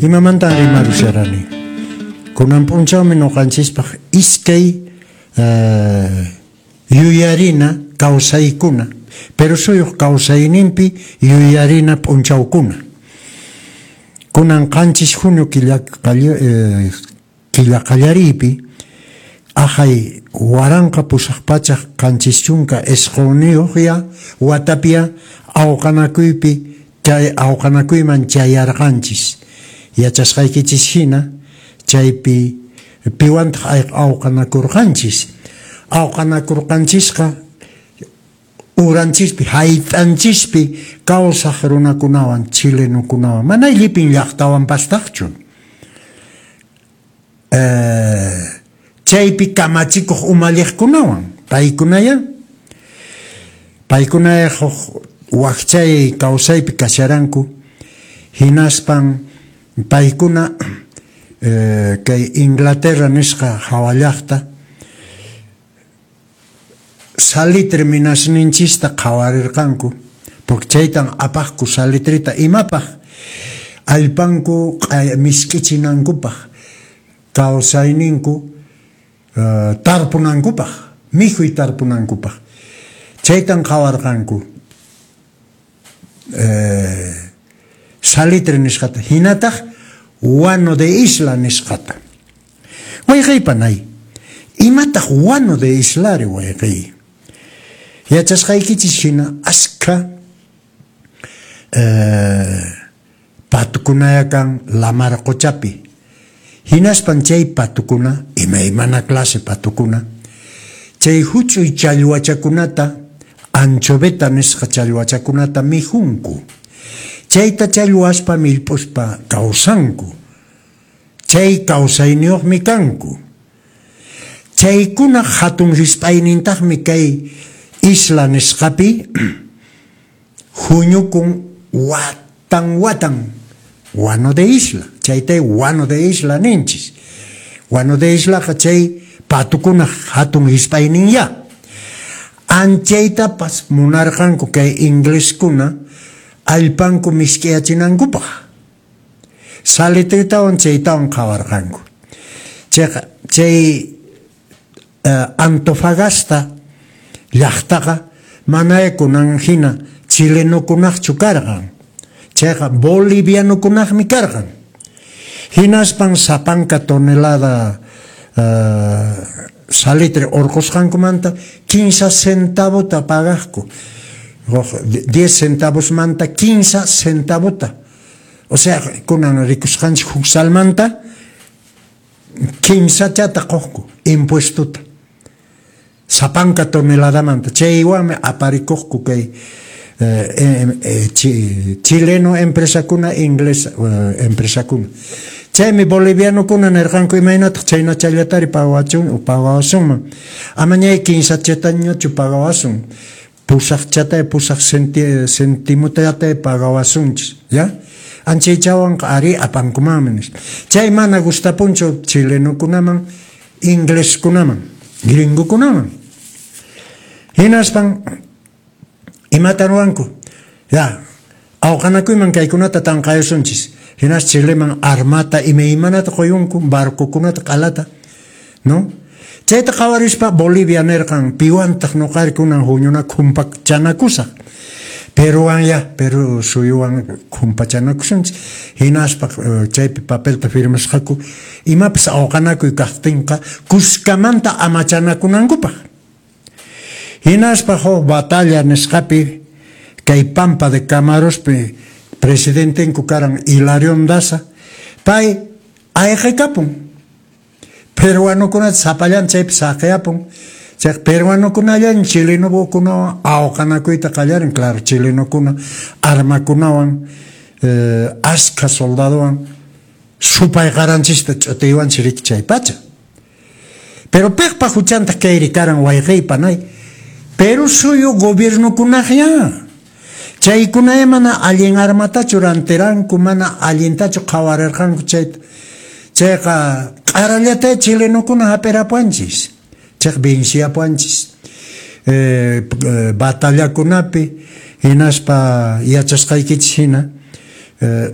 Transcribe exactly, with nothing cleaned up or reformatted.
Imamantan rimarusharani? Kunan p'unchawmi ñuqanchispaq iskay eh, yuyarina kawsaykuna, Perú suyuq kawsayninpi yuyarina p'unchawkuna. Kunan qanchis junio killa, eh, killa qallariypi ahay waranqa pusaq pachak qanchis chunka isqunniyuqya watapia awqanakuypi chay awqanakuyman chayarqanchis. Yachasqaykichis hina chaypi piwantaq awqanakurqanchis. Awqanakurqanchisqa uranchispi hayt'anchispi kawsaq runakunawan chilenukunawan mana llipin llaqtawan pastaqchu. Eh, chaypi kamachikuq umalliqkunawan paykunaya paykunaya huk wakchay kawsaypi kasharanku hinaspan paykuna eh, kay Inglaterra nisqa hawa llaqta salitre minasninchista qhawarirqanku porque chaytan apaqku salitrita imapaq allpanku misk'ichinankupaq kawsayninku uh, tarpunankupaq mikhuy tarpunankupaq chaytan qhawarqanku eh, salitre nisqata hinataq guano de isla nisqata. Wayqey panay, imataq guano de islari wayqey? Yachasqaykichis hina askha eh, patukunaya kan lamar quchapi. Hinaspan chay patukuna, imaymana clase patukuna, chay huch'uy challwachakunata, anchoveta nisqa challwachakunata mikhunku. Chayta challwaspa millp'uspa kawsanku. Chay kawsayniyuqmi kanku. Chaykuna hatun risp'aynintaqmi kay isla nisqapi huñukun watan watan guano de isla. Chaytay guano de isla ninchis. Guano de islaqa chay patukunaq hatun hisp'ayninya. Anchaytapas munarqanku kay ingleskuna allpanku misk'iyachinankupaq. Salitritawan chaytawan qhawarqanku. Chayqa chay uh, Antofagasta llaqtaqa manaya kunan hina chilenukunaqchu karqan. Chayqa bolivianukunaqmi karqan. Hinaspan sapanka tonelada uh, salitre urqusqankumanta quince centavota pagaqku. diez centavos manta quince centavota. O sea, kunan rikusqanchik huk salmanta kimsachata quqku impuestota. Sapanka toneladamanta. Chaywanmi aparikuqku kay eh, eh, chi, chileno empresakuna, inglés eh, empresakuna. Chaymi bolivianokuna nirqanku imaynataq chaynachallatari pagawachun pagawasunman. Amañay kinsachatañachu pagawasun. Pusaq chatay pusaq centi, centimotayatay pagawasunchis, ya? Anchaychawanqa ari apankumanmi nispa. Chay mana gustapunchu chilenokunaman, ingleskunaman, gringokunaman. Hinaspan imata ruwanku? Ya, awqanakuyman kaykunata tanqayasunchis. Hinas Chileman armata imaymanata quyunku, barcokunata q'alata, no? Chayta qhawarispa Bolivia nirqan piwantaq ñuqari kunan huñunaku humpachanakusaq. Peruwan ya, Perú suyuwan humpachanakusunchis. Hinaspa chaypi papelta firmasqaku imapas awqanakuy kaqtinqa kuskamanta amachanakunankupaq. Hinaspa huk batalla nisqapi kay Pampa de Camarospi presidentenku karan Hilarión Daza, pay ayqikapun. Peruanokunata sapallan chaypi saqiyapun. Chay peruanokunallan chilenokunawan awqanakuyta qallarin, claro, chilenokuna armakunawan eh, askha soldadowan supay qaranchista ch'utiywanchis riki chay pacha. Pero piqpa huchantaq kayri karan wayqey panay? Perú suyu gobiernokunaqya. Chaykunaya mana allin armatachu rantiranku, mana allintachu qhawarirqanku chayta. Chayqa q'arallata chilenokuna hap'irapuanchis. Chayqa venciapuanchis. Eh, batallakunapi hinaspa yachasqaykichis hina eh,